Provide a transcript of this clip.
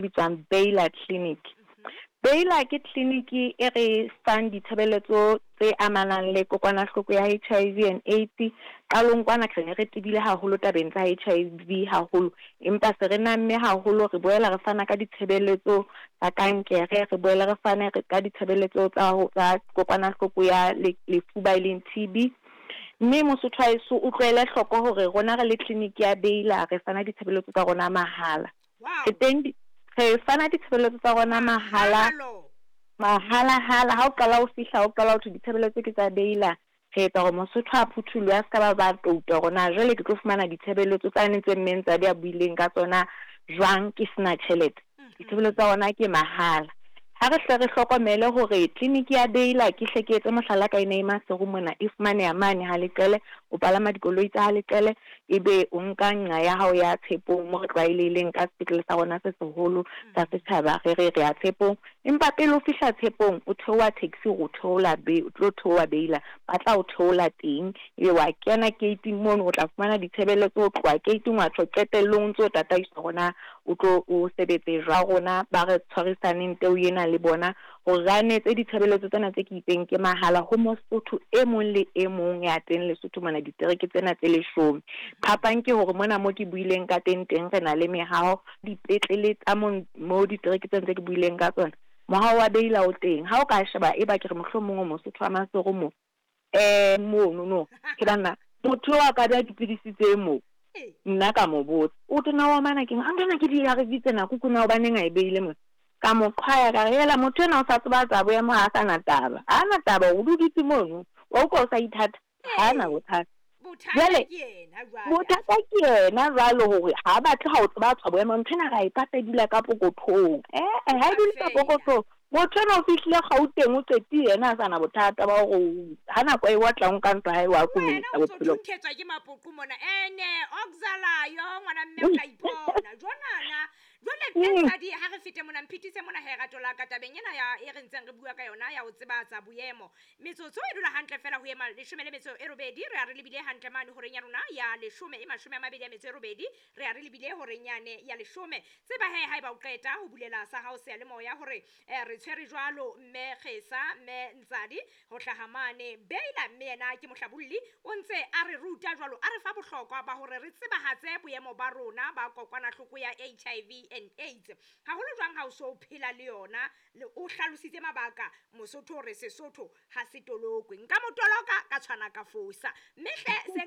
Bitswang Baylor Clinic. Baylor ke tleliniki e re fang ditshebeletso tse amanang le kokwanahloko ya HIV and AIDS. Qalong kwana re ne re tebile haholo tabeng tsa HIV haholo, empa se re namme haholo, re boela re fana ka ditshebeletso tsa kankere, re boele re fane ka ditshebeletso tsa tsa kokwanahloko ya lefuba e leng TB. Mme Mosotho wa heso o tlohele hloko hore rona re le tleliniki ya Baylor re fana ditshebeletso tsa rona mahala. Re teng re fana ditshebeletso tsa rona mahala, mahala-hala. Ha o qala o fihla, o qala ho thwe ditshebeletso ke tsa Baylor, re etsa hore Mosotho a phutholohe, a se ka ba ba touta hore na jwale ke tlo fumana ditshebeletso tsane tse mme Ntsadi a buileng ka tsona jwang ke sena tjhelete. Ditshebeletso tsa rona ke mahala. Ha re hle re hlokomele hore tleliniki ya Baylor, ke hle ke etse mohlala ka ena e Maseru mona, e fumaneha mane ha Leqele. O palama dikoloi tsa ha Leqele, ebe o nka nqa ya hao ya Tshepong mo re tlwaelehileng ka sepetlele sa rona se seholo sa setjhaba, re re re ya Tshepong. Empa pele o fihla Tshepong, o theoha taxi hore o theola o tlo theoha Baylor, ba tla o theola teng, ebe wa kena gate-ing mono, o tla fumana ditshebeletso ho tloha gate-ing wa tjho qetellong o ntso o tataiswa hore na o tlo o sebetse jwang. Rona ba re tshwarisaneng teo ena le bona hore re anetse ditshebeletso tsena tse ke itseng ke mahala ho Mosotho e mong le e mong ya teng Lesotho mona, ditereke tsena tse leshome. Phapang ke hore mona mo ke buileng ka teng teng re na le mehaho, dipetlele tsa mo ditereke tsena tse ke buileng ka tsona, mohaho wa Baylor o teng. Ha o ka sheba eba ke re mohlomong o Mosotho wa Maseru mo, mono no, ke banna motho eo a ka beha dipidisi tse moo, nna ka mo botsa, o tona wa mana keng? A ntwana ke di-A_R_V tsena, kuku na hobaneng a e beile mona? Ka mo qhwaya ka re, hela motho enwa o sa tseba tsa boemo ha a sa na taba. Ha a na taba o dutse mono, wa utlwa o sa ithata, ha a na bothata. Jwale bothata ke yena jwalo hore ha a batle ha o tseba tswa boemo, ntho ena ra e pata e dula ka pokothong. Eh ha e dule ka pokothong. Motho enwa o fihlile Gauteng o qetile yena a sa na bothata ba hore ha nako e otla o nka ntwa hae wa Wena o ntso thunthetswa ke mapoqo mona ene oxalayo ngwana mme o tla ipona jonana. Jwale mme Ntshadi ha re fete mona mphitise mona he rato la ka tabeng ena ya e re ntseng re bua ka yona ya ho tsebatsa boemo. Metsotso e dula hantle fela ho ema leshome le metso e robedi, re a re lebile hantle mane horeng ya rona ya leshome e mashome a mabedi a metso e robedi, re a re lebile horeng yane ya leshome. Tseba he haeba o qeta ho bulela sa hao seyalemoya hore re tshwere jwalo mme Kgesa mme Ntsadi ho hlaha mane Baylor, mme yena ke mohlabolli o ntse a re ruta jwalo, a re fa bohlokwa ba hore re tsebahatse boemo ba rona ba kokwanahloko ya HIV and AIDS. Haholo jwang ha o so phela le yona, o hlalositse mabaka Mosotho hore Sesotho ha se tolokwe. Nka mo toloka ka tshwana ka fosa. Mme hle se